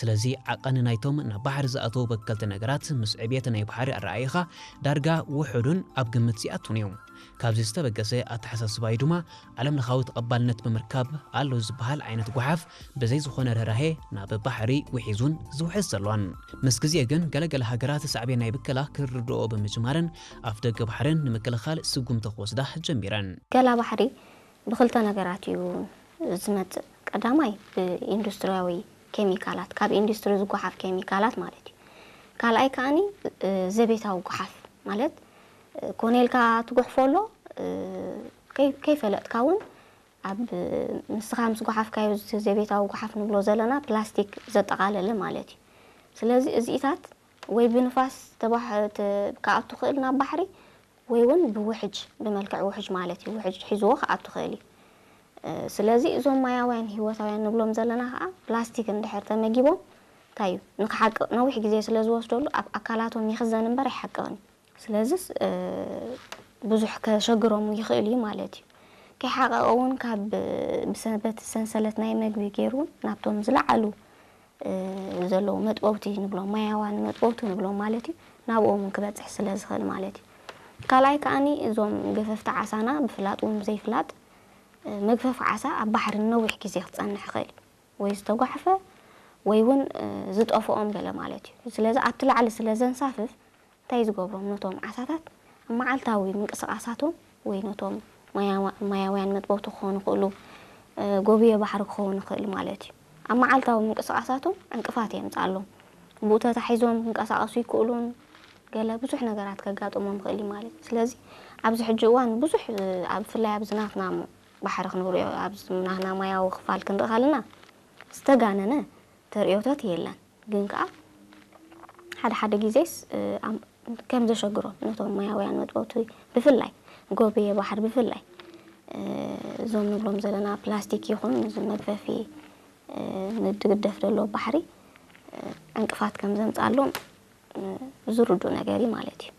ስለዚ ዓቐን ናይቶም ናብ ባሕሪ ዝኣተዉ በከልቲ ነገራት ምስ ዕብየት ናይ ባሕሪ ኣረኣይኻ ዳርጋ ውሑዱን ኣብ ግምት ዝኣቱን እዩ። ካብዚ ዝተበገሰ ኣተሓሳስባዩ ድማ ዓለም ለኻዊ ተቐባልነት ብምርካብ ኣሎ ዝበሃል ዓይነት ጓሓፍ ብዘይ ዝኾነ ርህራሄ ናብ ባሕሪ ውሒዙን ዝውሕዝ ዘሎን። ምስ ግዜ ግን ገለገለ ሃገራት ሳዕቤን ናይ ብከላ ክርድኦ ብምጅማረን ኣፍ ደገ ባሕርን ንምክልኻል ስጉምቲ ክወስዳ ጀሚረን። ገላ ባሕሪ ብክልተ ነገራት እዩ ዝመፅእ። ቀዳማይ ብኢንዱስትሪያዊ ኬሚካላት፣ ካብ ኢንዱስትሪ ዝጓሓፍ ኬሚካላት ማለት እዩ። ካልኣይ ከዓኒ ዘቤታዊ ጓሓፍ ማለት ኮነ ኢልካ ትጉሕፎ ኣሎ፣ ከይፈለጥካ እውን ኣብ ንስኻ ምስ ጓሓፍካዮ ዘቤታዊ ጓሓፍ ንብሎ ዘለና ፕላስቲክ ዘጠቓለለ ማለት እዩ። ስለዚ እዚኢታት ወይ ብንፋስ ክኣቱ ክእል ናብ ባሕሪ ወይ እውን ብውሕጅ ብመልክዕ ውሕጅ ማለት እዩ። ውሕጅ ሒዝዎ ክኣቱ ክእል እዩ። ስለዚ እዞም ማያውያን ህይወታውያን ንብሎም ዘለና ከዓ ፕላስቲክ እንድሕር ተመጊቦም እንታይ እዩ ንክሓቅቕ ነዊሕ ግዜ ስለ ዝወስደሉ ኣብ ኣካላቶም ይኽዘን እምበር ኣይሓቅቕን እዩ። ስለዚስ ብዙሕ ከሸግሮም ይኽእል እዩ ማለት እዩ። ከይሓቐቐ እውን ካብ በቲ ሰንሰለት ናይ መግቢ ገይሩ እውን ናብቶም ዝለዓሉ ዘለዉ መጥበውቲ ንብሎም ማያውያን መጥበውቲ ንብሎም ማለት እዩ ናብኦም እውን ክበፅሕ ስለ ዝኽእል ማለት እዩ። ካልኣይ ከዓኒ እዞም ገፈፍቲ ዓሳና ብፍላጥ እውን ብዘይፍላጥ መግፈፊ ዓሳ ኣብ ባሕሪ ንነዊሕ ግዜ ክፀንሕ ይኽእል እዩ። ወይ ዝተጓሕፈ ወይ እውን ዝጠፍኦም ገለ ማለት እዩ። ስለዚ ኣብቲ ላዕሊ ስለ ዘንሳፍፍ እንታይ ዝገብሮም ነቶም ዓሳታት ኣብ መዓልታዊ ምንቅስቓሳቶም ወይ ነቶም ማያውያን መጥበውቲ ክኾኑ ይኽእሉ፣ ጎብየ ባሕሪ ክኸውን ይኽእል ማለት እዩ። ኣብ መዓልታዊ ምንቅስቓሳቶም ዕንቅፋት የምፅኣሎም። ብኡ ተታሒዞም ክንቀሳቐሱ ይክእሉን ገለ ብዙሕ ነገራት ከጋጥሞም ይኽእል እዩ ማለት እዩ። ስለዚ ኣብዚ ሕጂ እዋን ብዙሕ ኣብ ብፍላይ ኣብዚ ናትና ባሕሪ ክንሪኦ ኣብዚ ናትና ማያዊ ክፋል ክንርኢ ከለና ዝተጋነነ ተርእዮታት የለን። ግን ከዓ ሓደ ሓደ ግዜስ ከም ዘሸግሮም ነቶም ማያውያን መጥበውቲ ብፍላይ ጎብየ ባሕሪ ብፍላይ እዞም ንብሎም ዘለና ፕላስቲክ ይኹን እዚ መግፈፊ ንድግደፍ ዘሎ ባሕሪ ዕንቅፋት ከም ዘምፅኣሎም ዝርዱ ነገር እዩ ማለት እዩ።